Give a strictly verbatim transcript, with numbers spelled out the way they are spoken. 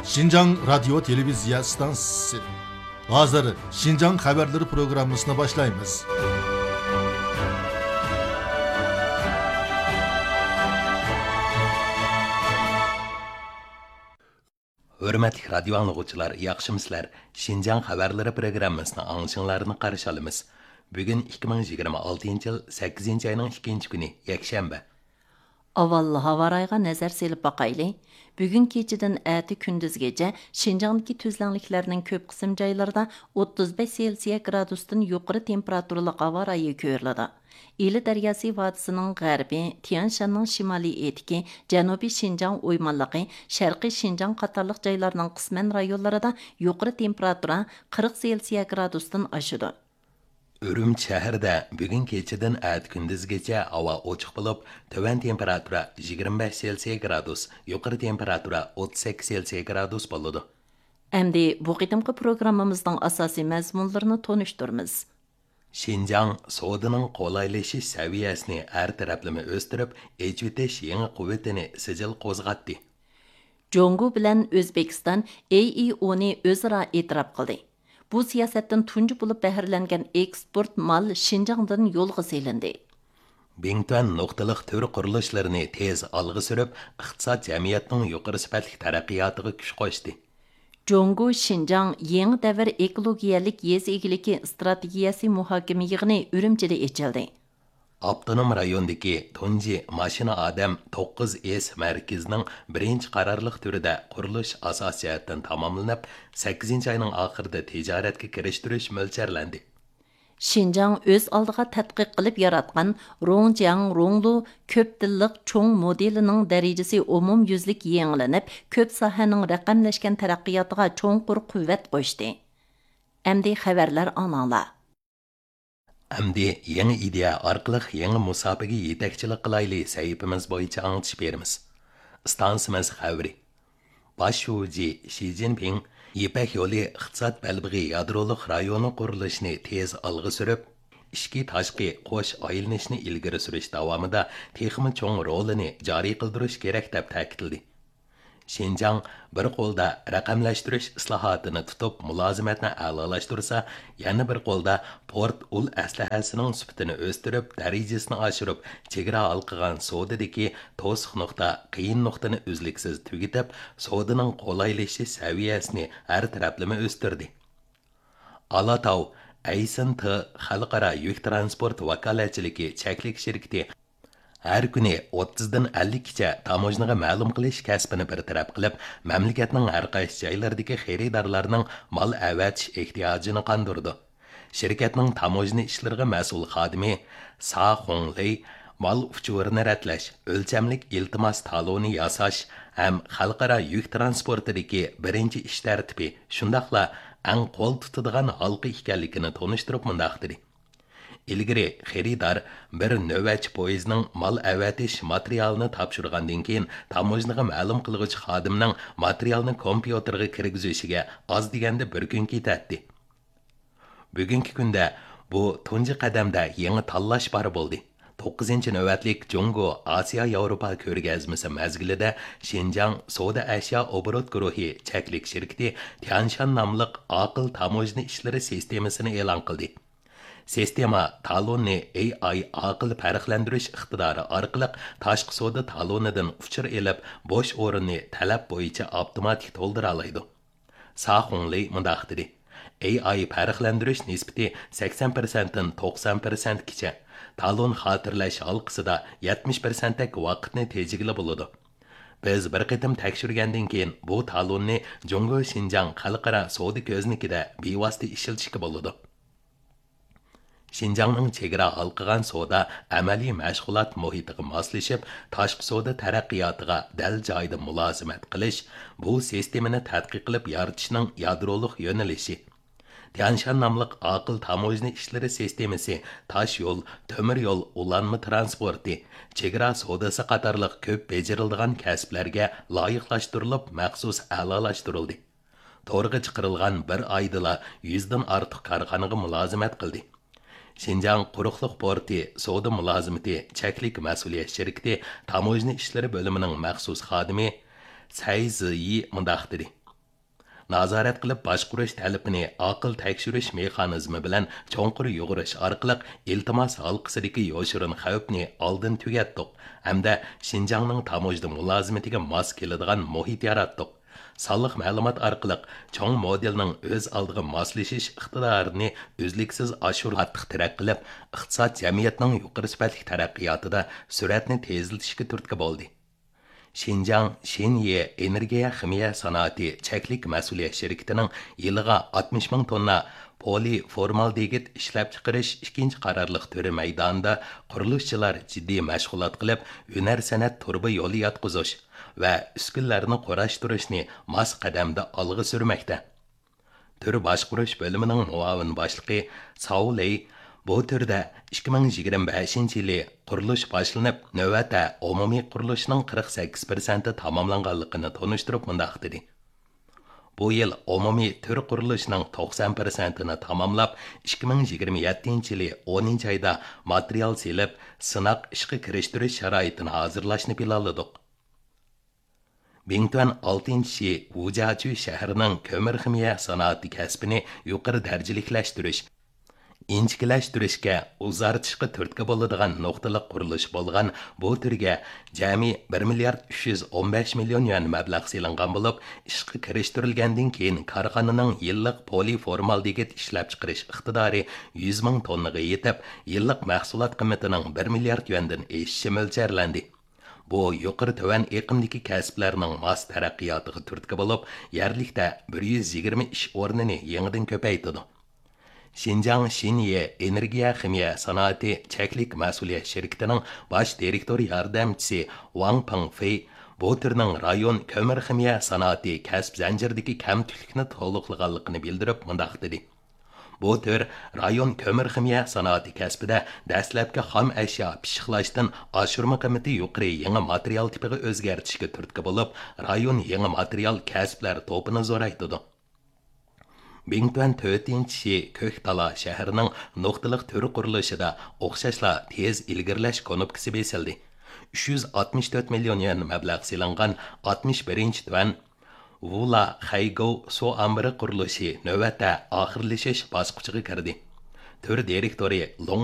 شىنجاڭ رادىيو تېلېۋىزىيە ئىستانسىسى. ھازىر شىنجاڭ خەۋەرلىرى پروگراممىسىنى باشلايمىز. ھۆرمەتلىك رادىيو ئاڭلىغۇچىلار، ياخشىمۇسىلەر؟ شىنجاڭ خەۋەرلىرى پروگراممىسىنىڭ ئاڭلىشىڭلارنى قارشى ئالىمىز. بۈگۈن ئىككى مىڭ يىگىرمە ئالتىنچى يىل سەككىزىنچى ئاينىڭ ئىككىنچى كۈنى، يەكشەنبە. ئاۋۋال ھاۋا رايىغا نەزەر سېلىپ باقايلى. بۈگۈن كېچىدىن ئەتە كۈندۈزگىچە شىنجاڭدىكى تۈزلەڭلىكلەرنىڭ كۆپ قىسىم جايلىرىدا ئوتتۇز بەش سېلسىيە گرادۇستىن يۇقىرى تېمپېراتۇرىلىق ھاۋا رايى كۆرۈلىدۇ. ئىلى دەرياسى ۋادىسىنىڭ غەربى، تيەنشاننىڭ شىمالىي ئېتىكى، جەنۇبىي شىنجاڭ ئويمانلىقى، شەرقىي شىنجاڭ قاتارلىق جايلارنىڭ قىسمەن رايونلىرىدا يۇقىرى تېمپېراتۇرا قىرىق سېلسىيە گرادۇستىن ئاشىدۇ. ئۈرۈمچى شەھىرىدە بۈگۈن كېچىدىن ئەتە كۈندۈزگىچە ھاۋا ئوچۇق بولۇپ، تۆۋەن تېمپېراتۇرا يىگىرمە بەش سېلسىيە گرادۇس، يۇقىرى تېمپېراتۇرا ئوتتۇز سەككىز سېلسىيە گرادۇس بولىدۇ. ئەمدى بۇ قېتىمقى پروگراممىمىزنىڭ ئاساسىي مەزمۇنلىرىنى تونۇشتۇرىمىز. شىنجاڭ سودىنىڭ قولايلىشىش سەۋىيەسىنى ھەر تەرەپلىمە ئۆستۈرۈپ، ئېچىۋېتىش يېڭى قۇۋۋىتىنى سىجىل قوزغاتتى. جۇڭگو بىلەن ئۆزبېكىستان ئېي ئى ئونى ئۆزئارا ئېتىراپ قىلدى. بۇ سىياسەتتىن تۇنجى بولۇپ بەھرىلەنگەن ئېكسپورت مال شىنجاڭدىن يولغا سېلىندى. بىڭتۈەن نۇقتىلىق تۈر قۇرۇلۇشلىرىنى تېز ئالغا سۈرۈپ، ئىقتىساد، جەمئىيەتنىڭ يۇقىرى سۈپەتلىك تەرەققىياتىغا كۈچ قوشتى. جۇڭگو شىنجاڭ يېڭى دەۋر ئېكولوگىيەلىك يېزا ئىگىلىكى ئىستراتېگىيەسى مۇھاكىمە يىغىنى ئۈرۈمچىدە ئېچىلدى. ئاپتونوم رايوندىكى تۇنجى ماشىنا ئادەم توققۇز ئېس مەركىزىنىڭ بىرىنچى قارارلىق تۈرىدە قۇرۇلۇش ئاساسىي جەھەتتىن تاماملىنىپ، سەككىزىنچى ئاينىڭ ئاخىرىدا تىجارەتكە كىرىشتۈرۈش مۆلچەرلەندى. شىنجاڭ ئۆز ئالدىغا تەتقىق قىلىپ ياراتقان روڭجياڭ روڭلۇ كۆپ تىللىق چوڭ مودېلىنىڭ دەرىجىسى ئومۇميۈزلۈك يېڭىلىنىپ، كۆپ ساھەنىڭ رەقەملەشكەن تەرەققىياتىغا چوڭقۇر قۇۋۋەت قوشتى. ئەمدى خەۋەرلەر ئاڭلاڭلار. ئەمدى يېڭى ئىدىيە ئارقىلىق يېڭى مۇساپىگە يېتەكچىلىك قىلايلى سەھىپىمىز بويىچە ئاڭلىتىش بېرىمىز. ئىستانسىمىز خەۋىرى. باش شۇجى شى جىنپىڭ يىپەك يولى ئىقتىساد بەلبېغى يادرولۇق رايونى قۇرۇلۇشىنى تېز ئالغا سۈرۈپ، ئىچكى تاشقى قوش ئايلىنىشنى ئىلگىرى سۈرۈش داۋامىدا تېخىمۇ چوڭ رولىنى جارى قىلدۇرۇش كېرەك، دەپ تەكىتلىدى. شىنجاڭ بىر قولدا رەقەملەشتۈرۈش ئىسلاھاتىنى تۇتۇپ، مۇلازىمەتنى ئەلالاشتۇرسا، يەنە بىر قولدا پورت ئۇل ئەسلىھەسىنىڭ سۈپىتىنى ئۆستۈرۈپ، دەرىجىسىنى ئاشۇرۇپ، چېگرا ھالقىغان سودىدىكى توسۇق نۇقتا، قىيىن نۇقتىنى ئۈزلۈكسىز تۈگىتىپ، سودىنىڭ قولايلىشىش سەۋىيەسىنى ھەر تەرەپلىمە ئۆستۈردى. ئالاتاۋ ئەيسىن تى خەلقئارا يۈك ترانسپورت ۋاكالەتچىلىكى چەكلىك شىركىتى ھەر كۈنى ئوتتۇزدىن ئەللىككىچە تاموژنىغا مەلۇم قىلىش كەسپىنى بىر تەرەپ قىلىپ، مەملىكەتنىڭ ھەر قايسى جايلىرىدىكى خېرىدارلارنىڭ مال ئەۋەتىش ئېھتىياجىنى قاندۇرىدۇ. شىركەتنىڭ تاموژنا ئىشلىرىغا مەسئۇل خادىمى سا خۇڭلېي مال ئۇچۇرىنى رەتلەش، ئۆلچەملىك ئىلتىماس تالونى ياساش ھەم خەلقئارا يۈك ترانسپورتىدىكى بىرىنچى ئىش تەرتىپى، شۇنداقلا ئەڭ قول تۇتىدىغان ھالقا ئىكەنلىكىنى تونۇشتۇرۇپ مۇنداق دېدى. ئىلگىرى خېرىدار بىر نۆۋەتچى پويىزنىڭ مال ئەۋەتىش ماتېرىيالىنى تاپشۇرغاندىن كېيىن، تاموژنىغا مەلۇم قىلغۇچى خادىمنىڭ ماتېرىيالنى كومپيۇتېرغا كىرگۈزۈشىگە ئاز دېگەندە بىر كۈن كېتەتتى. بۈگۈنكى كۈندە بۇ تۇنجى قەدەمدە يېڭى تاللاش بار بولدى. توققۇزىنچى نۆۋەتلىك جۇڭگو ئاسىيا ياۋروپا كۆرگەزمىسى مەزگىلىدە شىنجاڭ سودا ئەشيا ئوبوروت گۇرۇھى چەكلىك شىركىتى تيانشان ناملىق ئاقىل تاموژنا ئىشلىرى سىستېمىسىنى ئېلان قىلدى. سىستېما تالوننى ئېي ئاي ئاقىل پەرقلەندۈرۈش ئىقتىدارى ئارقىلىق تاشقى سودا تالونىدىن ئۇچۇر ئېلىپ، بوش ئورۇننى تەلەپ بويىچە ئاپتوماتىك تولدۇرالايدۇ. سا خۇڭلېي مۇنداق دېدى: ئېي ئاي پەرقلەندۈرۈش نىسبىتى سەكسەن پىرسەنتتىن توقسان پىرسەنتكىچە، تالون خاتىرىلەش ھالقىسىدا يەتمىش پىرسەنتتەك ۋاقىتنى تېجىگىلى بولىدۇ. بىز بىر قېتىم تەكشۈرگەندىن كېيىن، بۇ تالوننى جۇڭگو شىنجاڭ خەلقئارا سودا كۆزنىكىدە بىۋاسىتە ئىشلىتىشكە بولىدۇ. شىنجاڭنىڭ چېگرا ھالقىغان سودا ئەمەلىي مەشغۇلات مۇھىتىغا ماسلىشىپ، تاشقى سودا تەرەققىياتىغا دەل جايىدا مۇلازىمەت قىلىش، بۇ سىستېمىنى تەتقىق قىلىپ يارىتىشنىڭ يادرولۇق يۆنىلىشى. تيانشان ناملىق ئاقىل تاموژنا ئىشلىرى سىستېمىسى تاش يول، تۆمۈر يول، ئۇلانما تىرانسپورتى، چېگرا سودىسى قاتارلىق كۆپ بېجىرىلىدىغان كەسىپلەرگە لايىقلاشتۇرۇلۇپ، مەخسۇس ئەلالاشتۇرۇلدى. تورغا چىقىرىلغان بىر ئايدىلا يۈزدىن ئارتۇق كارخانىغا مۇلازىمەت قىلدى. شىنجاڭ قۇرۇقلۇق پورتى سودا مۇلازىمىتى چەكلىك مەسئۇلىيەت شىركىتى تاموژنا ئىشلىرى بۆلۈمىنىڭ مەخسۇس خادىمى سەي زىيى مۇنداق دېدى: نازارەت قىلىپ باشقۇرۇش تەلىپىنى ئاقىل تەكشۈرۈش مېخانىزمى بىلەن چوڭقۇر يۇغۇرۇش ئارقىلىق ئىلتىماس ھالقىسىدىكى يوشۇرۇن خەۋپنى ئالدىن تۈگەتتۇق ھەمدە شىنجاڭنىڭ تاموژنا مۇلازىمىتىگە ماس كېلىدىغان مۇھىت ياراتتۇق. سانلىق مەلۇمات ئارقىلىق چوڭ مودېلنىڭ ئۆز ئالدىغا ماسلىشىش ئىقتىدارىنى ئۈزلۈكسىز ئاشۇرۇپ، ئارتۇق تەرەققىي قىلىپ، ئىقتىساد، جەمئىيەتنىڭ يۇقىرى سۈپەتلىك تەرەققىياتىدا سۈرئەتنى تېزلىتىشكە تۈرتكە بولدى. شىنجاڭ شىنيې ئېنېرگىيە خىمىيە سانائىتى چەكلىك مەسئۇلىيەت شىركىتىنىڭ يىلىغا ئاتمىش مىڭ توننا پولىفورمالدېگىد ئىشلەپچىقىرىش ئىككىنچى قارارلىق تۈرى مەيدانىدا قۇرۇلۇشچىلار جىددىي مەشغۇلات قىلىپ، ھۈنەر سەنئەت تۇرۇبا يولى ياتقۇزۇش ۋە ئۈسكۈنىلەرنى قۇراشتۇرۇشنى ماس قەدەمدە ئالغا سۈرمەكتە. تۈر باشقۇرۇش بۆلۈمىنىڭ مۇئاۋىن باشلىقى ساۋ لېي بۇ تۈردە ئىككى مىڭ يىگىرمە بەشىنچى يىلى قۇرۇلۇش باشلىنىپ، نۆۋەتتە ئومۇمىي قۇرۇلۇشنىڭ قىرىق سەككىز پىرسەنتى تاماملانغانلىقىنى تونۇشتۇرۇپ مۇنداق دېدى: بۇ يىل ئومۇمىي تۈر قۇرۇلۇشىنىڭ توقسان پىرسەنتىنى تاماملاپ، ئىككى مىڭ يىگىرمە يەتتىنچى يىلى ئونىنچى ئايدا ماتېرىيال سېلىپ، سىناق ئىشقا كىرىشتۈرۈش شارائىتىنى ھازىرلاشنى پىلانلىدۇق. بىڭتۈەن ئالتىنچى شى ۋۇجياچۈ شەھىرىنىڭ كۆمۈر خىمىيە سانائىتى كەسپىنى يۇقىرى دەرىجىلىكلەشتۈرۈش، ئىنچىكىلەشتۈرۈشكە، ئۇزارتىشقا تۈرتكە بولىدىغان نۇقتىلىق قۇرۇلۇش بولغان بۇ تۈرگە جەمئىي بىر مىليارد ئۈچ يۈز ئون بەش مىليون يۈەن مەبلەغ سېلىنغان بولۇپ، ئىشقا كىرىشتۈرۈلگەندىن كېيىن كارخانىنىڭ يىللىق پولىفورمالدېگىد ئىشلەپچىقىرىش ئىقتىدارى يۈز مىڭ توننىغا يېتىپ، يىللىق مەھسۇلات قىممىتىنىڭ بىر مىليارد يۈەندىن ئېشىشى مۆلچەرلەندى. بۇ يۇقىرى تۆۋەن ئېقىمدىكى كەسىپلەرنىڭ ماس تەرەققىياتىغا تۈرتكە بولۇپ، يەرلىكتە بىر يۈز يىگىرمە ئىش ئورنىنى يېڭىدىن كۆپەيتىدۇ. شىنجاڭ شىنيې ئېنېرگىيە خىمىيە سانائىتى چەكلىك مەسئۇلىيەت شىركىتىنىڭ باش دىرېكتور ياردەمچىسى ۋاڭ پېڭفېي بۇ تۈرنىڭ رايون كۆمۈر خىمىيە سانائىتى كەسىپ زەنجىرىدىكى كەمتۈكلۈكنى تولۇقلىغانلىقىنى بىلدۈرۈپ مۇنداق دېدى: بۇ تۈر رايون كۆمۈر خىمىيە سانائىتى كەسپىدە دەسلەپكى خام ئەشيا پىششىقلاشتىن ئاشۇرما قىممىتى يۇقىرى يېڭى ماتېرىيال تىپىغا ئۆزگەرتىشكە تۈرتكە بولۇپ، رايون يېڭى ماتېرىيال كەسىپلەر توپىنى زورايتىدۇ. بىڭتۈەن تۆتىنچى شى كۆكتالا شەھىرىنىڭ نۇقتىلىق تۈر قۇرۇلۇشىدا ئوخشاشلا تېز ئىلگىرىلەش كۇنۇپكىسى بېسىلدى. ئۈچ يۈز ئاتمىش تۆت مىليون يۈەن مەبلەغ سېلىنغان ئاتمىش بىرىنچى تۈەن ۋۇلا خەيگوۋ سۇ ئامبىرى قۇرۇلۇشى نۆۋەتتە ئاخىرلىشىش باسقۇچىغا كىردى. تۈر دىرېكتورى لوڭ